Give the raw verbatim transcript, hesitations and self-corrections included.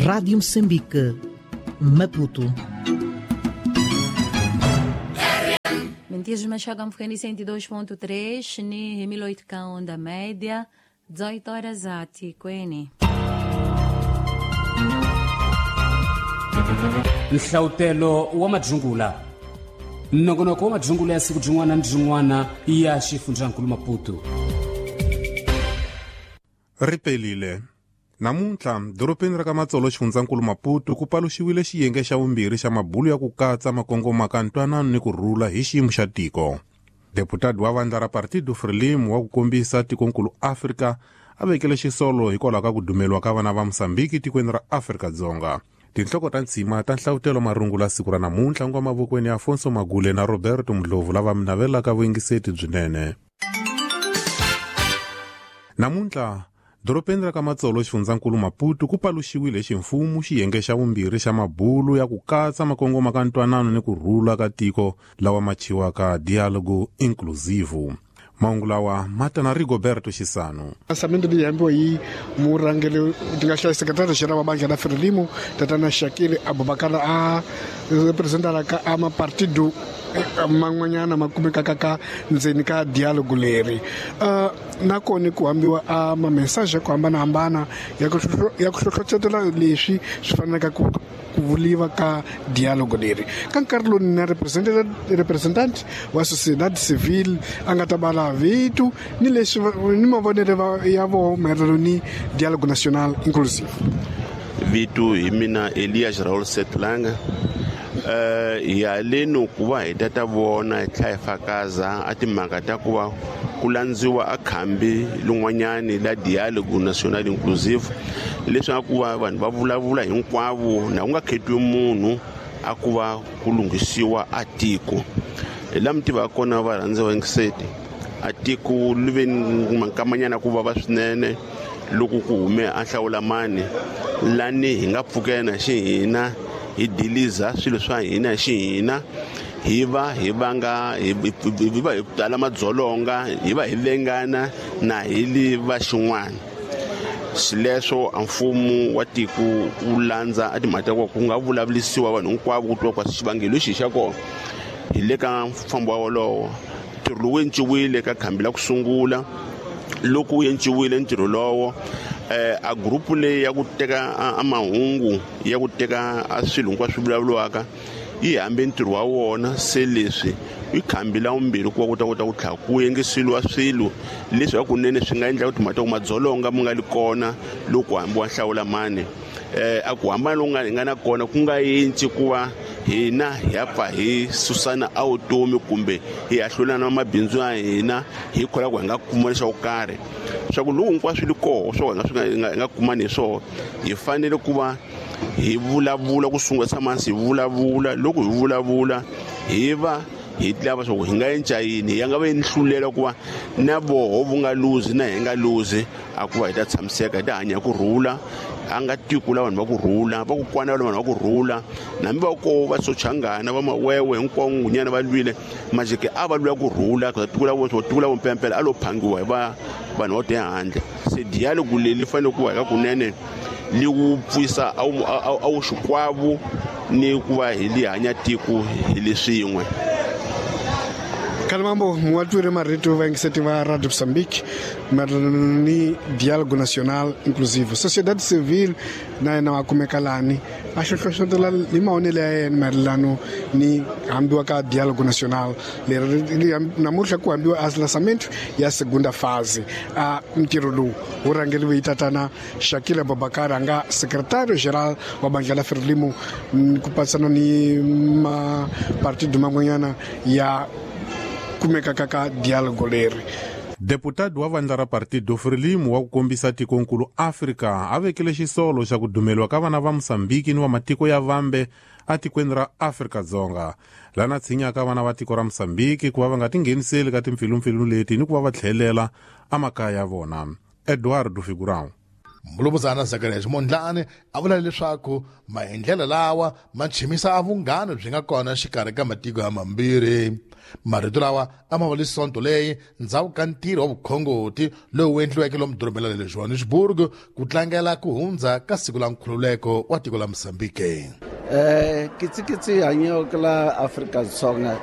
Rádio Moçambique, Maputo. Mentias Machaga mfukeni cento e dois ponto três ni mil oito ka onda média, dezoito horas ati kweni. Nhlautelo wa madzungula nongonoko wa madzungula ya siku byin'wana ni byin'wana ya xifundzankulu Maputo. Ripelile namuntlha dorobeni ra ka Matsolo xifundzankulu Maputo ku paluxiwile xiyenge xa vumbirhi xa mabulu ya ku katsa makongoma ka ntwanano ni ku rhula hi xiyimo xa tiko. Deputado wa vandla ra Partido Frelimo wa ku kombisa tikonkulu Afrika a vekele xisolo hikwalaho ka ku dumeliwa ka vana va Mozambique tikweni ra Afrika-Dzonga. Tinhloko ta ntshima ta nhlavutelo marungula siku ra namuntlha ngwa mavokweni ya Afonso Magule na Roberto Mdlovu lava mi navelaka vuyingiseti byinene. Namuntlha dorobeni ra ka Matsolo xifundzankulu Maputo ku paluxiwile ximfumo xiyenge xa vumbirhi xa mabulu ya ku katsa makongoma ka ntwanano ni ku rhula ka tiko lawa ma thyiwaka Diálogo Inclusivo. Mahungu lawa ma ta na Rigoberto Xisano. Lançamento leyi hambiwa hi murhangeri ti nga hlaya secretary general wa bandla la Frelimo tatana Shakil Abubakar a representalaka a mapartido man'wanyana ma kumekaka ka ndzeni ka dialogue leri. Uh, nakona ku hambiwa a ma-message ya ku hambanahambana ya ku ya ku hlohlotela leswi swi fanelaka ku ku vuliwa ka dialogue leri. Ka nkarhi lowu na representant wa sociedad civil a nga ta bala vito ni leswi ni mavonelo ya voho maelana ni dialogue national inclusive. Vito hi mina Elias Raul Setlanga. Uh, ya leno ku va hi ta ta vona hi tlhela hi fakaza a timhaka ta ku va ku landziwa a khambi lin'wanyani la dialogue national inclusive, leswaku va vanhu va vulavula hinkwavo na ku nga khetiwi munhu a ku va ku lunghisiwa a tiko. Hi laha mi tivaka kona varhandzi va yingiseti, a tiko li ve ni mankamanyana ku vava swinene loko ku hume a hlawula mani lani hi nga pfukena xihina hi diliza swilo swa hina xihina hi va hi vanga hi va hi tala madzolonga hi va hi vengana na hi li va xin'wana. Xileswo a mfumo wa tiko wu landza a timhaka ta ku ku nga vulavulisiwa vanhu hinkwavo ku twa kwa xivangelo lexi xa kona. Hi le ka mfambo wolowo ntirho lowu enciwile ka khambi la ku sungula. Loko wu enciwile ntirho lowo eh a group leyi ya ku teka a mahungu ya ku teka a swilo hinkwaswo swi vulavuriwaka yi hambe ntirho wa wona. Se leswi i khambi la vumbirhi ku va ku ta kota ku tlhela ku yengiseliwa swilo leswi hakunene swi nga endla ku timhaka ta ku madzolonga mu nga li kona loko hambiwa nhlawula mani. Eh a ku hambana loku nga hi nga na kona ku nga yinci ku va hina hi ya pfa hi susana a vutomi kumbe hi ahlulana na mabindzu ya hina hi kholwa ku hi nga kuma lexo karhi. Swa ku loko hinkwaswo swi li koho swo hi nga swi nga hi nga kumani hi swona, hi fanele ku va hi vulavula ku sungula tshama hansi hi vulavula. Loko hi vulavula hi va hi lava swa ku hi nga enca yini, ya nga va yi hlulela ku va na voho vu nga luzi na hi nga luzi, a ku va hi ta tshamiseka hi ta hanya ku rhula. A nga tiko la vanhu va ku rhula, va ku kwana la vanhu va ku rhula, nambi va ko va Sochangana va Mawewe hinkwavo ngunyana va lwile majike a va lwela ku rhula ka tiko la vo tiko la vompempela a lo phangiwa hi va vanhu va te handle. Se dialogue leyi fanele ku va hi ka kunene li wu pfuisa a wu a wu xikwavo ni ku va hi li hanya tiko hi leswin'we. Kalimambo muwatwire marito va yingiseti va Radio Mozambique maelana ni dialogue national inclusive. Sociedade civil na yena wa kumeka lani a hlohlotela hi mavonelo ya yena maelano ni hambiwa ka dialogue national leri namuntlha ku hambiwa a lançamento ya segunda fase. A ntirho lowu wu rhangeriwe hi tatana Shakil Abubakar a nga secretario geral wa bandla la Frelimo ku patsana ni mapartido man'wanyana ya kumekaka ka dialogue leri. Deputado wa vandla ra Partido Frelimo wa ku kombisa tikonkulu Afrika a vekele xisolo xa ku dumeliwa ka vana va Mozambique ni wa matiko ya vambe atikweni ra Afrika-Dzonga, lana tshinyaka vana va tiko ra Mozambique ku va va nga tingheniseli ka timpfilumpfilu leti ni ku va va tlhelela emakaya ya vona. Eduardo Figurão. Mulumuzana Zacharias Mondlane a vula leswaku maendlelo lawa ma chimisa a vunghana byi nga kona xikarhi ka matiko ya mambirhi. Marito lawa a ma vuli sonto leyi ndzhaku ka ntirho wa vukhongoti lowu endliweke lomu dorobeni ra le Johannesburg ku tlangela ku hundza ka siku la nkhululeko wa tiko la Mozambique. Eh kitsikitsi hanyoko la Afrika-Dzonga